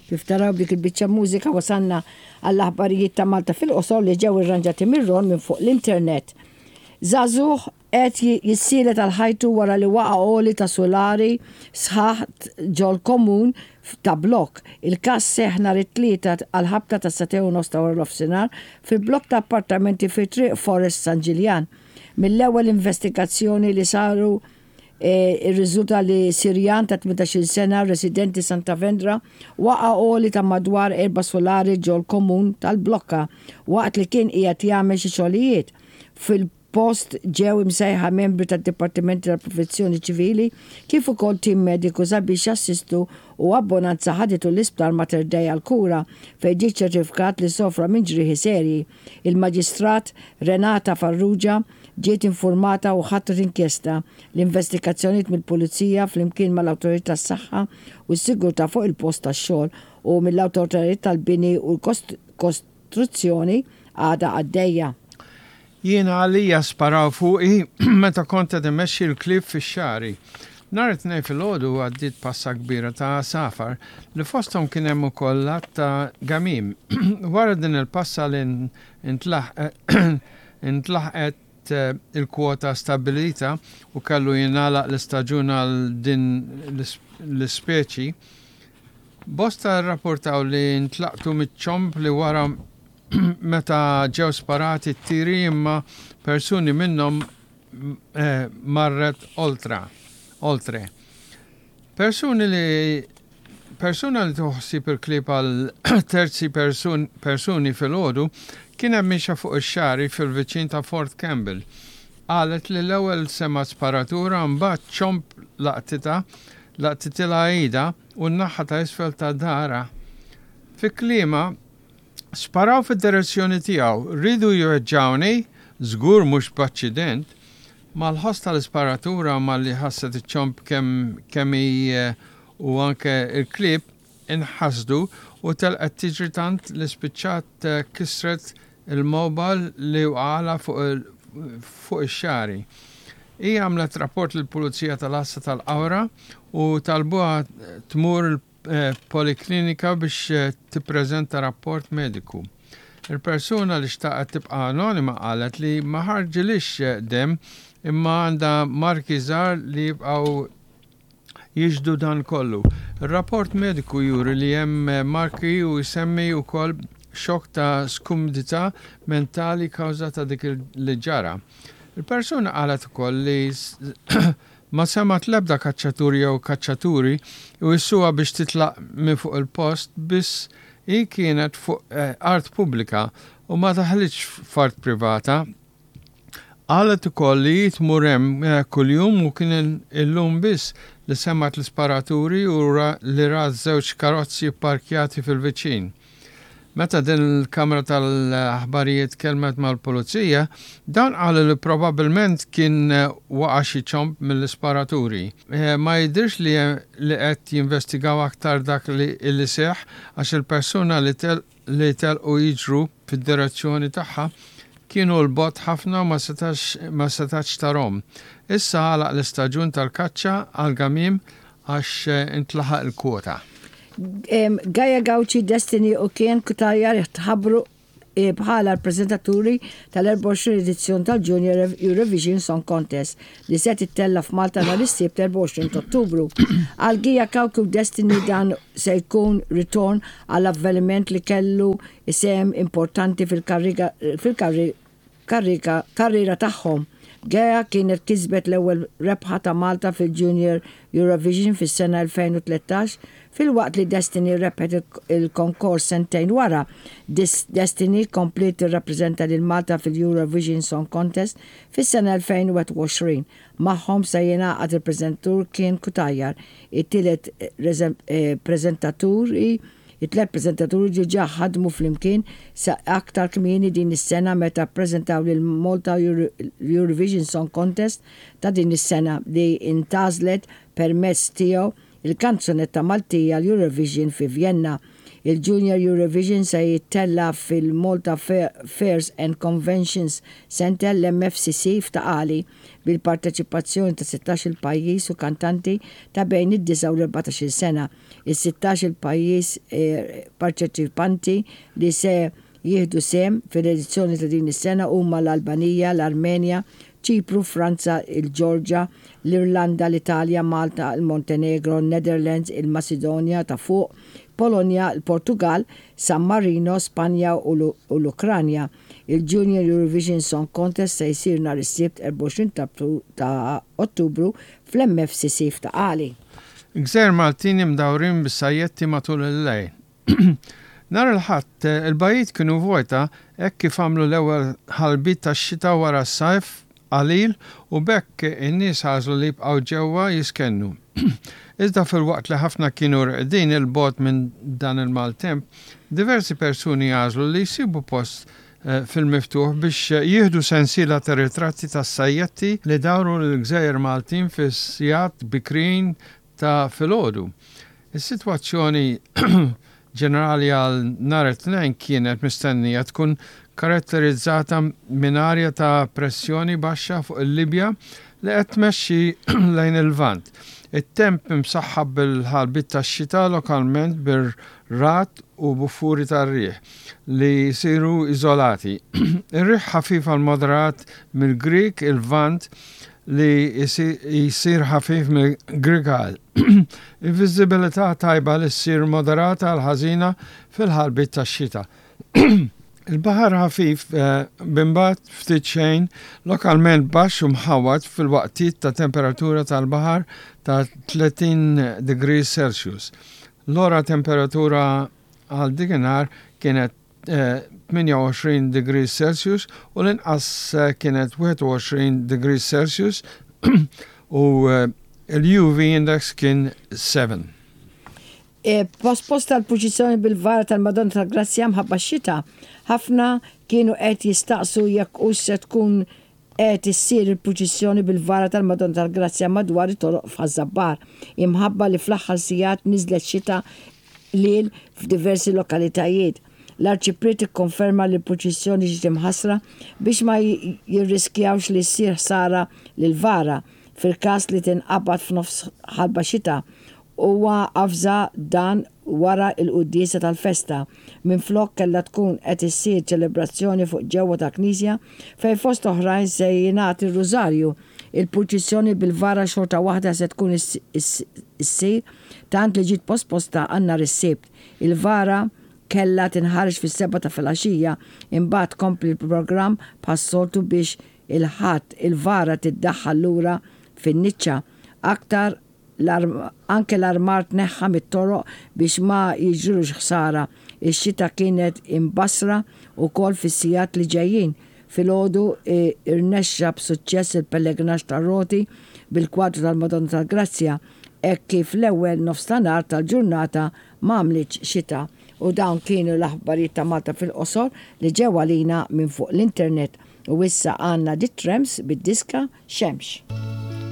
Kif taraw b'dik il-biċċa mużika wasalna għall-aħbarijiet ta' Malta fil-qosor li ġew irranġati minn Ron minn fuq l-internet. Żagħżugħ qed jissielet għal ħajtu wara li waqa' għoli ta' sulari sħaħ ġol-komun ta' blokk. Il-każ seħħ nhar it-Tlieta għall-ħabta tas-sagħtejn u nofs ta' waranofsinhar fi blokk ta' appartamenti fi Triq Forest San Ġiljan. Mill-ewwel investigazzjoni li saru Irriżulta li Sirjan ta' 18-il sena, residenti Santa Vendra, waqa' għoli ta' madwar erba' sulari ġol-komun tal-Blokka waqt li kien qiegħed jagħmel xi xogħlijiet. Fil-post ġew imsejħa membri tad-Dipartimenti tal-Protezzjoni Ċivili kif ukoll tim mediku sabiex jassistu u abbonanza ħaditu l-Isptar Mater Dei għall-kura fejn ġie ċċertifikat li sofra minn ġrieħi serji. Il-Maġistrat Renata Farrugia ġiet infurmata u ħatret inkjesta. L-investigazzjonijiet mill-Pulizija flimkien mal-Awtoritajiet tas-Saħħa u s-Sigurtà fuq il-post tax-xogħol u mill-awtoritajiet tal-bini u l-kostruzzjoni għadha għaddejja. Jiena għalija sparaw fuqi meta kont qed immexxi l-klieb fix-xagħri. Nhar it-Tnejn filgħodu għaddiet passa kbira ta' għasafar li fosthom kien hemm ukoll għadd ta' gamiem. Wara din il-passa li Intlaħqet il-kwota stabbilita u kellu jingħalaq l-istaġun għal din l-ispeċi. Bosta rrapportaw li ntlaqtu miċ-ċomb li wara meta ġew sparati t-tiri imma persuni minnhom marret oltra, oltre. Persuni li Persuna li tieħu ħsieb il-klieb għal terzi persuni filgħodu kienet miexja fuq ix-xagħri fil-viċin ta' Fort Campbell. Qalet li l-ewwel semgħet sparatura mbagħad ċomb laqtitha, laqtitilha idha u n-naħa ta' isfel ta' daharha. Fi kliemha, Sparaw fid-direzzjoni tiegħu. Riedu jweġġgħuni? Żgur mhux b'aċċident. Mal-ħoss tal-isparatura u malli ħasset iċ-ċomb kemm kemm hi u anke l-klieb inħasdu u telqet tiġri tant li spiċċat kisret il-mobile li waqgħalha fuq ix-xagħri. Hi għamlet rapport lill-Pulizija tal-Għassa tal-Qawra u talbuha tmur poliklinika biex tippreżenta rapport mediku. Il-persuna li xtaqet tibqa' anonima qalet li ma ħarġilhiex demm imma għandha marki żgħar li jibqgħu jixhdu dan kollu. Ir-rapport mediku juri li hemm marki u jsemmi wkoll xokk ta' skumdità mentali kawża ta' dik li ġara. Il-persuna qalet ukoll li Ma semgħet l-ebda kaċċatur jew kaċċaturi jwissuha biex titlaq minn fuq il-post biss hi kienet fuq art pubblika u ma daħlitx f'art privata. Qalet ukoll li hi tmur hemm kuljum u kien illum biss li semgħet l-isparaturi u li rat żewġ karozzi pparkjati fil-viċin. Meta din il-kamra tal-aħbarijiet tkellmet mal-pulizija, dawn qalu li probabbilment kien waqa' xi ċomb mill-isparaturi. Ma jidhirx li li qed jinvestigaw aktar dak li li seħħ għax il-persuna li li telqu jiġru fid-direzzjoni tagħha kienu 'l bogħod ħafna u ma setax ma setatx tarhom. Issa għalaq l-istaġun tal-kaċċa għall-gamiem għax intlaħaq il-kwota. Gaia Gauci, Destiny u Kien Cutajar tħabbru bħala l-preżentaturi tal-24 edizzjoni tal-Junior Eurovision Song Contest li se tittella' f'Malta nhar is-Sibt 24 ta' Ottubru. Għal Gia Cauchi u Destiny dan se jkun ritorn għal avveniment li kellu sehem importanti fil-karriera karriera tagħhom. Gea kienet kisbet l-ewwel rebħa ta' Malta fil-Junior Eurovision fis-sena 2013 filwaqt li Destiny rebħet il-konkors sentejn wara. Destiny kompliet tirrappreżenta lil Malta fil-Eurovision Song Contest fis-sena 2021. Magħhom se jingħaqad il-preżentatur Kien Cutajar, it-tielet preżentaturi It-tlett preżentaturi diġà ħadmu flimkien sa aktar kmieni din is-sena meta ppreżentaw lill-Malta Eurovision Song Contest ta' din is-sena li ntgħażlet permezz tiegħu il-kanzunetta Maltija għall-Eurovision fi Vjenna. Il-Junior Eurovision se jittella' fil-Malta Fairs and Conventions Centre, l-MFCC, f'Ta' Qali, bil-parteċipazzjoni ta' sittax-il pajjiż u kantanti ta' bejn id-disa' u l-erbatax-il sena. Is-sittax-il pajjiż parċeċipanti li se jieħdu sehem fil-edizzjoni ta' din is-sena huma l-Albanija, l-Armenja, Ċipru, Franza, il-Ġorġa, l-Irlanda, l-Italja, Malta, il-Montenegro, Netherlands, il-Masidonja ta' Fuq, Polonja, il-Portugall, San Marino, Spanja u l-Ukranja. Il-Junior Eurovision Song Contest se jsir nhar is-Sibt 24 ta' Ottubru fl-MFCC f'Ta' Qali. Gżejjer Maltin imdawrin bis-sajjetti matul il-lejl. Nhar il-Ħadd, il-bajjiet kienu vojta hekk kif għamlu l-ewwel ħalbiet tax-xita wara s-sajf qalil u b'hekk in-nies għażlu li jibqgħu ġewwa jiskennu. Iżda filwaqt li ħafna kienu reqdin 'il bogħod minn dan il-maltemp, diversi persuni għażlu li jsibu post fil-miftuħ biex jieħdu sensiela ta' ritratti tas-sajjetti li dawru lill-gżejjer Maltin fis-sigħat bikrin ta' filgħodu. Is-sitwazzjoni ġenerali għal nhar it-Tnejn kienet mistennija tkun karatterizzata minn arja ta' pressjoni baxxa fuq il-Libja li qed tmexxi lejn il-Lvant. It-temp imsaħħab bil-ħalbiet tax-xita lokalment bir-ragħad u buffuri tar-riħ li jsiru iżolati. Ir-riħ ħafif għal moderat mill-Grieg il-Lvant li jsir ħafif mill-Grigal. Il-viżibilità tajba li ssir moderata għal ħażina fil-ħalbiet tax-xita. Il-baħar ħafif b'imbagħad ftit xejn lokalment baxx u mħawwad fil-waqtiet ta' temperatura tal-baħar ta' 30 degrees Celsius. L-ogħla temperatura għal dikinhar kienet 28 degrees Celsius u l-inqas kienet 21 degrees Celsius u l-UV index kien 7. Posposta l-purċissjoni bil-vara tal-Madonna tal-Grazzja mħabba x-xita, ħafna kienu qed jistaqsu jekk hux se tkun Qed issir il-purċissjoni bil-vara tal-Madonna tal-Grazzja madwar it-toroq f'Ħaż-Żabbar, imħabba li fl-aħħar sigħat niżlet xita qliel f'diversi lokalitajiet. L-Arċipriet ikkonferma li l-purċissjoni ġiet imħassra biex ma jirriskjawx li ssir ħsara lill-vara fil-każ li tinqabad f'nofs ħalba xita Huwa avża dan wara l-quddiesa tal-festa. Minflok kellha tkun qed issir ċelebrazzjoni fuq ġewwa tal-knisja fejn fost oħrajn se jingħad ir-rużarju. Il-purċissjoni bil-vara xorta waħda se tkun issir tant li ġiet posposta għal nhar is-Sibt. Il-vara kellha tinħareġ fis-sebgħa ta' filgħaxija imbagħad tkompli l-programm bħas-soltu biex il-Ħadd il-vara tiddaħħal lura fin-niċċa. Aktar Anke l-armar tneħħa mit-toroq biex ma jiġrilux ħsara. Ix-xita kienet imbassra wkoll fis-sigħat li ġejjin. Filgħodu rnexxa b'suċċess il-pellegrinaġġ tar-roti bil-kwadru tal-Madonna tal-Grazzja hekk kif l-ewwel nofstanhar tal-ġurnata m'għamlitx xita. U dawn kienu l-aħbarijiet ta' Malta fil-qosor li ġew għalina minn fuq l-internet. U issa għandna The Tramps bid-diska Xemx.